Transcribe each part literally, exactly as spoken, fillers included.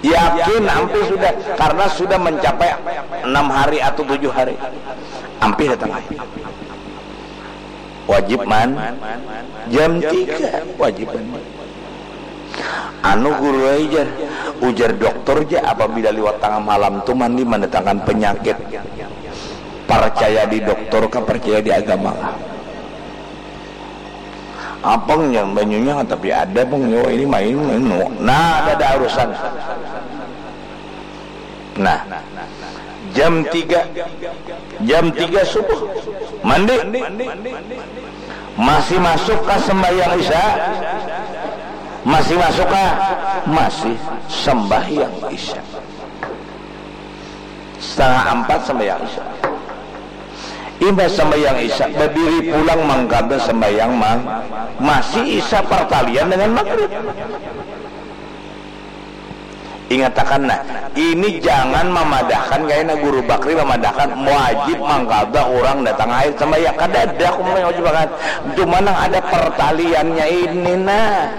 Yakin ampih sudah, karena sudah mencapai enam hari atau tujuh hari. Ampih datang air. Wajib man, jam tiga wajib mandi. Anu guru ai jar, ujar doktor ja apabila liwat tangah malam tu mandi mendatangkan penyakit. Percaya di doktor kah, percaya di agama kah? Apang nya banyunya tapi ada pang nyawa ini main, main. Nah, ada, ada urusan. Nah, jam tiga, jam tiga subuh mandi. Masih masuk ke sembahyang isya? Masih masuk ke? Masih sembahyang isya. Setengah empat sembahyang isya. Imbah sembahyang isya, berdiri pulang mangkada sembahyang mang, masih isya pertalian dengan maghrib. Ingatakan nah, ini jangan mamadahkan kaina Guru Bakri mamadahkan wajib mangkada urang datang haid sambahyang. Kadada aku wajib akan. Cuma nang ada pertaliannya ini nah.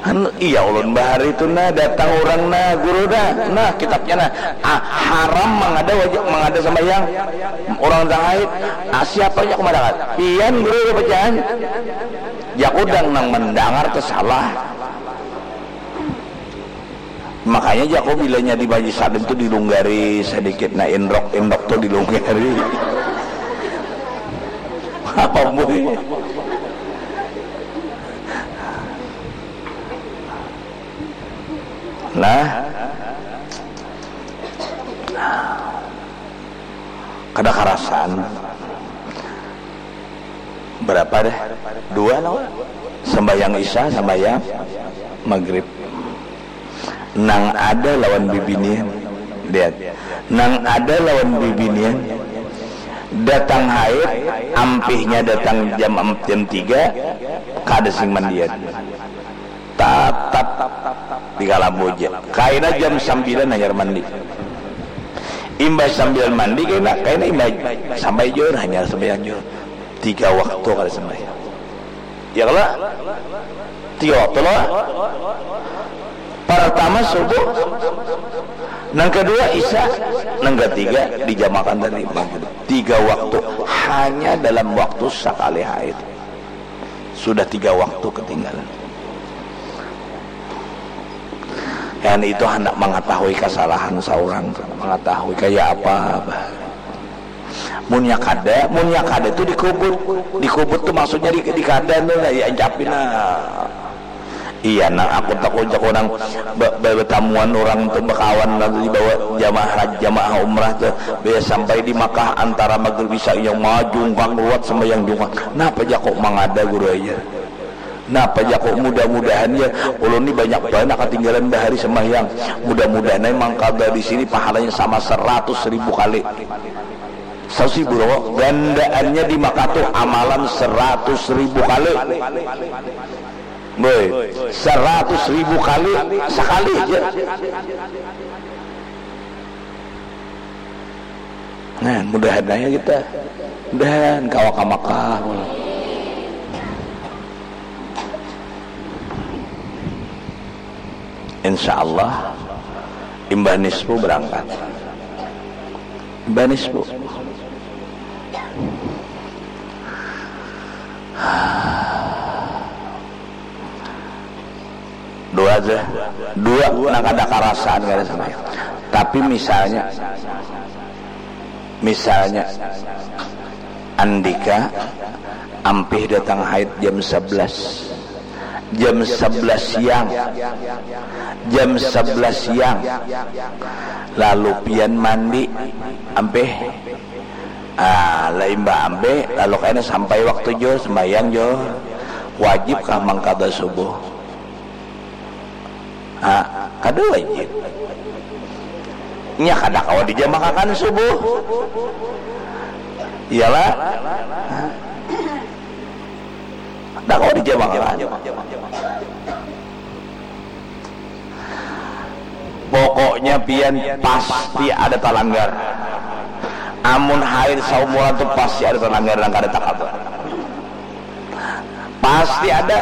Anu, iya ulun bahari tu nah datang urang nah guru nah. Nah kitabnya nah. Ah, haram mangada wajib mangada sambahyang urang datang haid. Ah, siapa nya aku madangar? Pian guru bacaan. Jaku dang nang mandangar tu salah. Makanya jaku bilanya di majlis taklim tu dilunggari sedikit nah indrok indrok tu dilunggari. Apa boy? Nah, kada karasan. Berapa deh? Dua lah. Sembahyang isya, sembahyang maghrib. Nang ada lawan bibinian. Lihat. Nang ada lawan bibinian. Datang haid, ampihnya datang jam jam tiga, kada sing mandian. Tatap di kalambu ja. Kaina jam sambilan hanyar mandi. Imbah sambilan mandi kaina, kaina imbah sampai juhur hanyar sambilan juhur. Tiga waktu kada sambilan. Ya kalo? Tiga waktu lah. Pertama subuh, nang kedua isya, nang ketiga dijamakan tadi maghrib. Tiga waktu hanya dalam waktu sakali haid. Sudah tiga waktu ketinggalan. Yang itu hendak mengetahui kesalahan seorang, mengetahui kayak apa. Munnya kada, munnya kada itu dikubut. Dikubut tuh maksudnya di, di kada tuh ya ancapin lah. Iya nang aku takut jaku nang betamuan orang tuh bekawan lalu dibawa jamaah haji jamaah umrah tuh biasa sampai di Makkah antara maghrib isya yang maju jungkang ruat sembahyang jungkang. Napa jaku mangada guru aja? Napa jaku mudah-mudahan ya ulun ni banyak banget ketinggalan bahari sembahyang. Mudah-mudahan aja mangkada di sini pahalanya sama seratus ribu kali. Seratus ribu loh, gandaannya di Makkah tuh amalan seratus ribu kali. Boy, seratus ribu kali sekali aja. Nah, mudahan aja kita. Mudahan kawa ka Makkah. Insya Allah imbah nisfu berangkat. Imbah nisfu. Dua aja. Dua nang kada karasaan kada sampai. Tapi misalnya misalnya andika ampih datang haid jam sebelas, jam sebelas siang, jam sebelas siang, lalu pian mandi ampih, ah, lain ba ampih lalu kena sampai waktu juhur sembahyang juhur, wajibkah mengkada subuh? Ha, kada wajib. Nya kada kawa dijamakakan subuh. Iyalah. Ha. Kada kawa dijamakakan. Pokoknya pian pasti ada talanggar. Amun haid saumuran tu pasti ada talanggar nang kada takabur. Pasti ada.